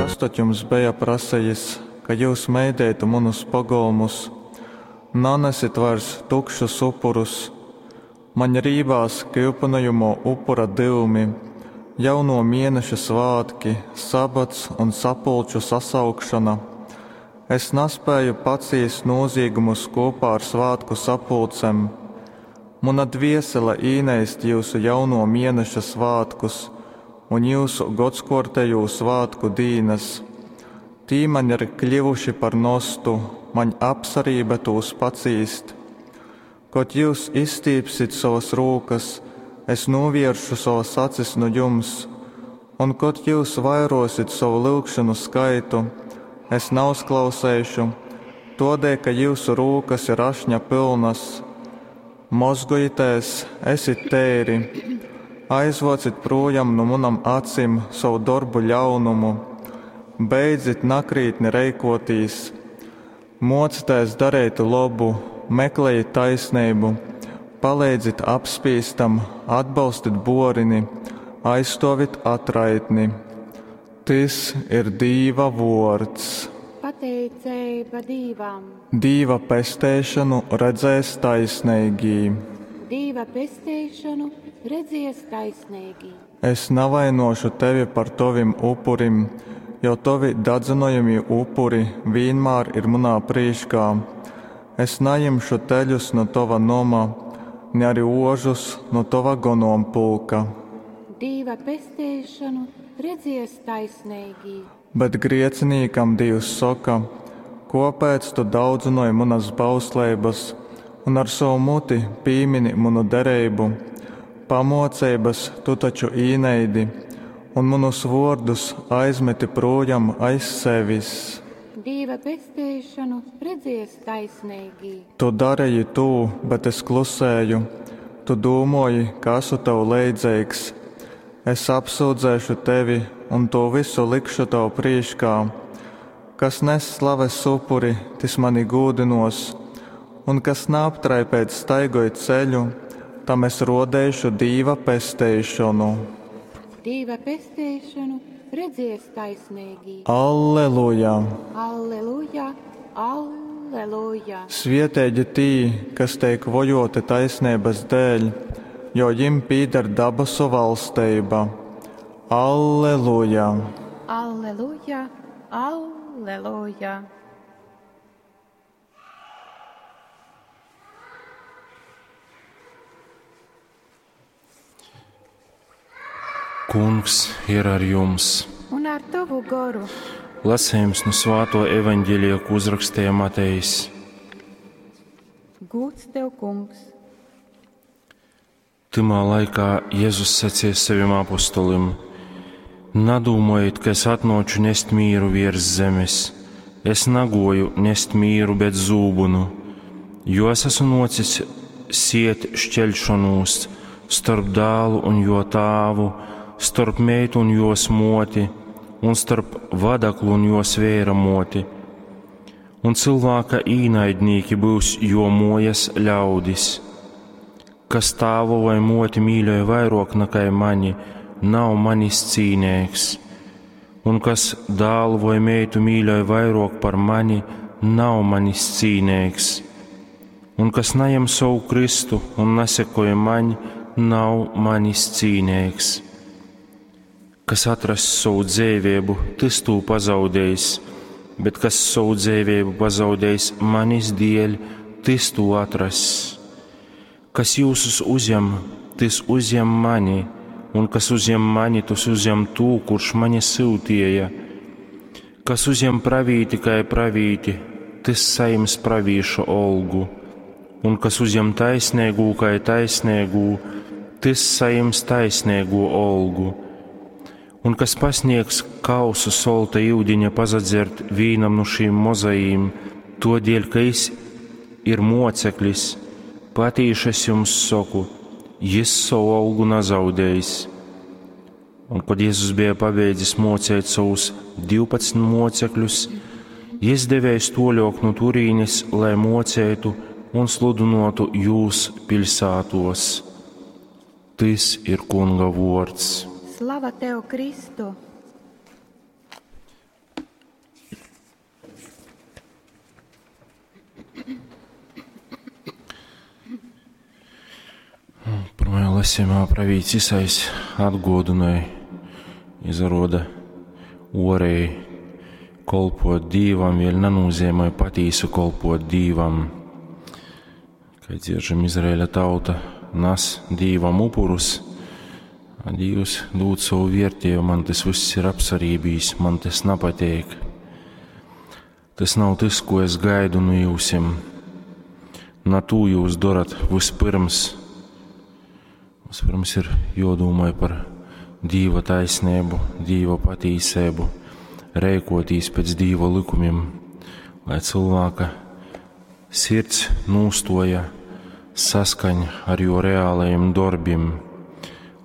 Kas tod jums beja prasejis, ka jyus meideitu munus pogolmus? Nanesit vairs tukšus upurus! Maņ rībās kyupynojamō upura dyumi, jaunō mieneša svātki, sabats un sapulču sasaukšona. Es naspēju pacīst nūzīgumus kūpā ar svātku sapulcem. Muna dviesele īneist jyusu jaunuo mieneša svātkus un jyusu godskōrtejū svātku dīnas. Tī maņ ir kļivuši par nostu, maņ apsarībe tūs pacīst. Kod jyus izstīpsit sovas rūkas, es nūviersšu sovas acis nu jums, un kod jyus vairuosit sovu lyugšonu skaitu, es nauzklauseišu, tuodēļ ka jyusu rūkas ir ašņa pylnas. Mozgojitēs, esit teiri, aizvuocit prūjam nu munom acim sovu dorbu ļaunumu, beidzit nakrītni reikuotīs. Muocitēs dareit lobu, meklejit taisneibu, paleidzit apspīstam, atbolstit buorini, aizstuovit atraitni. Tys ir Dīva vuords. Pateiceiba Dīvam. Dīva pesteišonu redzēs taisneigī. Dīva pesteišonu redzies taisneigī. Es navainuošu tevi par tovim upurim, jo tovi dadzynojamī upuri vīnmār ir munā prīškā. Es najimšu teļus nu tova noma, ni ari ožus nu tova gonompulka. Dīva pesteišonu redzies taisneigī. Bet griecinīkam Dīvs soka: Kōpēc tu daudzynoj munas bausleibas un ar sovu muti pīmini munu dereibu? Pamōceibas tu taču īneidi un munus vōrdus aizmeti prūjam aiz sevis. Dīva pesteišonu redzies taisneigī. Tu dareji tū, bet es klusēju, tu dūmōji, ka asu tev leidzeigs. Es apsyudzēšu tevi un tū vysu likšu tev prīškā. Kas nes slaves upuri, tys mani gūdynōs, un kas naaptraipeits staigoj ceļu, tam es rōdeišu Dīva pesteišonu. Dīva pesteišonu redzies taisneigī. Alleluja! Alleluja! Alleluja! Svieteigi tī, kas teik vojōti taisneibas dēļ, jo jim pīdar dabasu valsteiba. Alleluja! Alleluja! Alleluja! Kungs ir ar jums! Un ar tavu goru! Lasījums no Svāto evaņģēlija, ko uzrakstīja Matejs. Gūds tev, kungs! Tymā laikā Jēzus sacīja saviem apostolim: Nadūmojiet, ka es atnāču nest mīru virs zemes. Es nagoju nest mīru, bet zūbunu, jo es esmu nocis siet šķelšanos starp dēlu un jo tāvu, starp meitu un jos moti, un starp vadaklu un jos vēra moti. Un cilvēka īnaidnīki būs jo mojas ļaudis. Kas tāvu vai moti mīļoja vairāk nekā mani, nav manis cīnīgs, un kas dēlu vai meitu mīļoja vairāk par mani, nav manis cīnīgs, un kas neņem savu Kristu un nesekoja man, nav manis cīnīgs. Kas atrass savu dzīvību, tas tū pazaudējis, bet kas savu dzīvību pazaudējis manis dēļ, tas tū atrass. Kas jūsus uzņem, tas uzņem mani, un kas uzņem mani, tas uzņem tū, kurš mani sūtīja. Kas uzņem pravīti kā pravīti, tas saņems pravīša olgu, un kas uzņem taisnīgu kā taisnīgu, tas saņems taisnīgo olgu. Un kas pasniegs kausu solta iudiņa pazadzert vīnam no šīm mozajīm, to dēļ, ka jis ir moceklis, patīši es jums saku, jis savu algu nezaudējis. Un, kad Jēzus bija pabeidzis mocēt savus 12 mocekļus, jis devējis toļok no turīnes, lai mocētu un sludinotu jūs pilsētos. Tis ir Kunga vords. Slava tev, Kristu! Lasījumā pravīts Isais atguodynoj, izaruoda uoreji kolpot Dīvam vēļ nanūzeimoj patīsu kolpot Dīvam. Kai dzieržam, Izraēļa tauta nas Dīvam upurus, a Dīvs dūd sovu viertiejumu, man tas vyss ir apsarībīs, man tas napateik. Tas nav tas, ko es gaidu nu jiusim. Na tū jūs dorat vyspyrms. Vyspyrms ir juodūmoj par Dīva taisneibu, Dīva patīseibu, reikotīs pēc Dīva likumim, lai cylvāka sirds nūstuoja saskaņ ar juo realajim dorbim,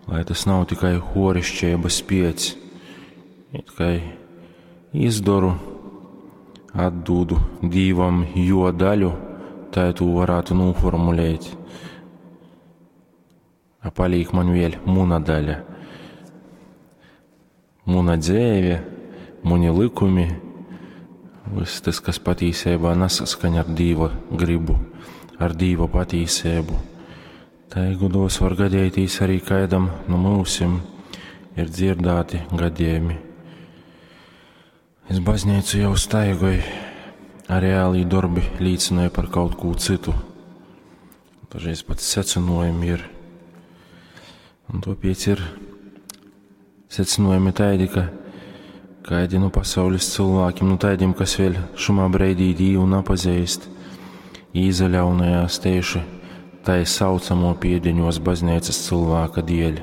lai tas nav tikai horišķeibys piec, it kai izdoru, atdūdu Dīvam juo daļu, tai tū varātu nūformulēt. A palīk man vēļ muna daļa. Muna dzeive, muni lykumi, vyss tas, kas patīseibā nasaskaņ ar Dīva gribu, ar Dīva patīseibu. Tai godos var gadētīs arī kaidam nu myusim ir dzirdāti gadījumi. Es baznīcu jau staigoju, a reālī dorbi līcināja par kaut ko citu. Dažreiz pat secinojumi ir. Un tāpēc ir secinojumi taidi, ka kaidi nu pasaules cilvēkiem, nu taidim, kas vēl šumā breidī Dīvu napazīst, īzaļaunajās tieši tai saucamo piedeņos baznīcas cilvēka dieļ.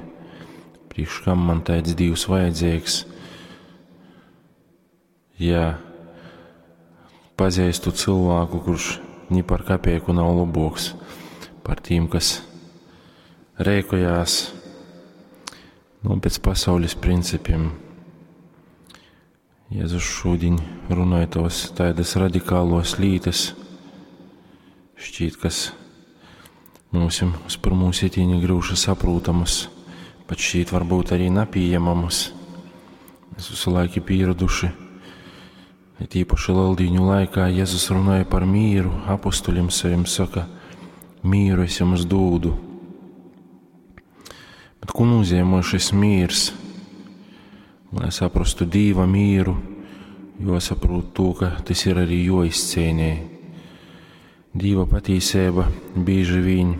Priekš kam man taids Dīvs vajadzīgs? Ja pazīstu cilvēku, kurš ni par kapeiku nav laboks par tīm, kas reikojās nu, pēc pasaules principiem. Jēzus šodien runāja tos tādas radikālos lītas, šķiet, kas mums uz pirmū sitieni grūši saprūtamas, pat šķiet varbūt arī napieņemamas. Mēs visu laiku pieraduši, it īpaši Lieldīņu laikā Jēzus runāja par mīru, apustuļiem saviem saka, mīru es jums dūdu. Bet ko nozīmē šis mīrs? Lai saprastu Dīva mīru, jāsaprot to, ka tas ir arī joizcīnē. Dīva patīsība bieži vien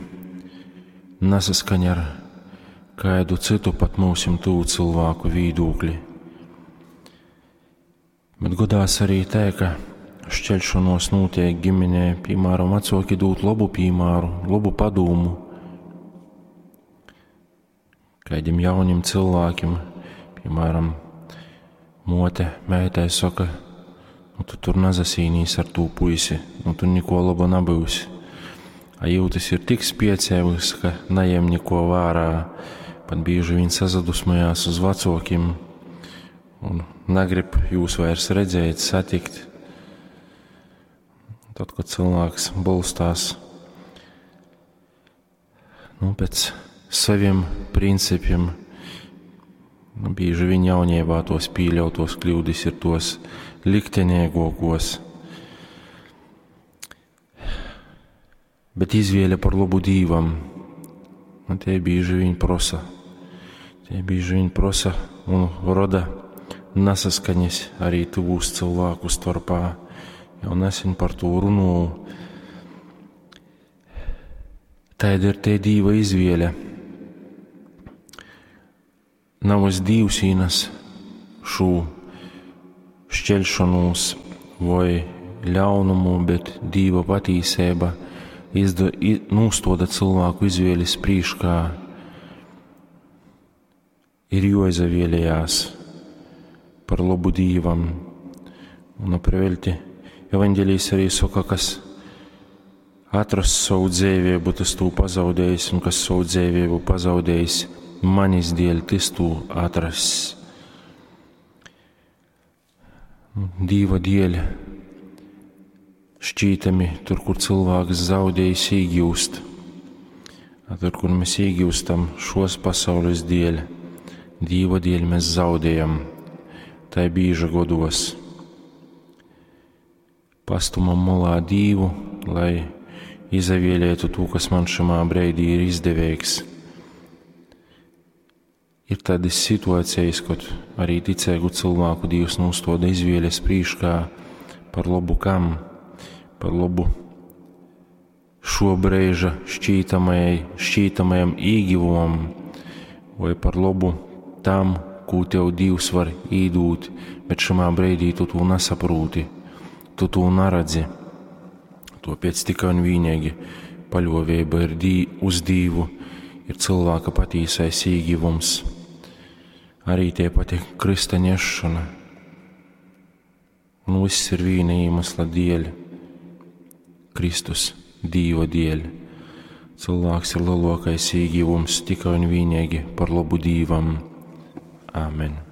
nesaskaņ ar kādu citu pat mūsim tuvu cilvēku vīdūkli. Bet godās arī tā, ka šķelšanos notiek ģimenē, piemēram, vecāki dūt labu piemēru, labu padūmu kādiem jauniem cilvēkiem, piemēram, mote meitai saka, nu tu tur nazasīnīs ar tū puisi, nu tu niko laba nabūsi. A jūtas ir tik spiecēvs, ka najem niko vērā, pat bieži vien sazadusmojās uz vecākiem un negrib jūs vairs redzēt, satikt. Tad, kad cilvēks bolstās nu, pēc saviem principiem, nu, bieži vien jauniebā tos pieļautos kļūdas ir tos liktenīgākos. Bet izvēle par labu Dīvam, nu, tie bieži vien prosa. Tie bieži vien prosa un roda nesaskaņas arī tuvūs cilvēku starpā. Jau nesen par to runāju. Tāda ir te Dīva izvēle. Nav es Dīvs īnes šo šķelšanos vai ļaunumu, bet Dīva patīsība nūstoda cilvēku izvēles prīškā. Ir joizavēlējās par labu Dīvam. Un aprevelti Evanģelijas arī saka, kas atrast savu dzīvību, tas tū pazaudējis, un kas savu dzīvību pazaudējis, manis dēļ, tas tū atrass. Dīva dēļ šķītami tur, kur cilvēks zaudējis, iegūst. A tur, kur mēs iegūstam šos pasaules dēļ, Dīva dēļ mēs zaudējam. Tai bīža godos. Pastumam molā Dīvu, lai izavēlētu to, kas man šamā breidī ir izdevīgs. Ir tādas situācijas, kad arī ticīgu cilvēku Dievs nostoda izvēles prīškā par labu kam? Par labu šo brīža šķītamajai, šķītamajam īgivumam vai par labu tam, ko tev Dievs var īdūt, bet šamā brīdī tu to nesaprūti, tu to neredzi. Tāpēc tikai un vienīgi paļāvība ir dī, uz Dievu, ir cilvēka patīsais īgivums. Arī tie pati krista nešana. Un viss ir viena iemesla dēļ - Kristus, Dieva dēļ. Cilvēks ir lielākais ieguvums tikai un vienīgi par labu Dievam. Āmen!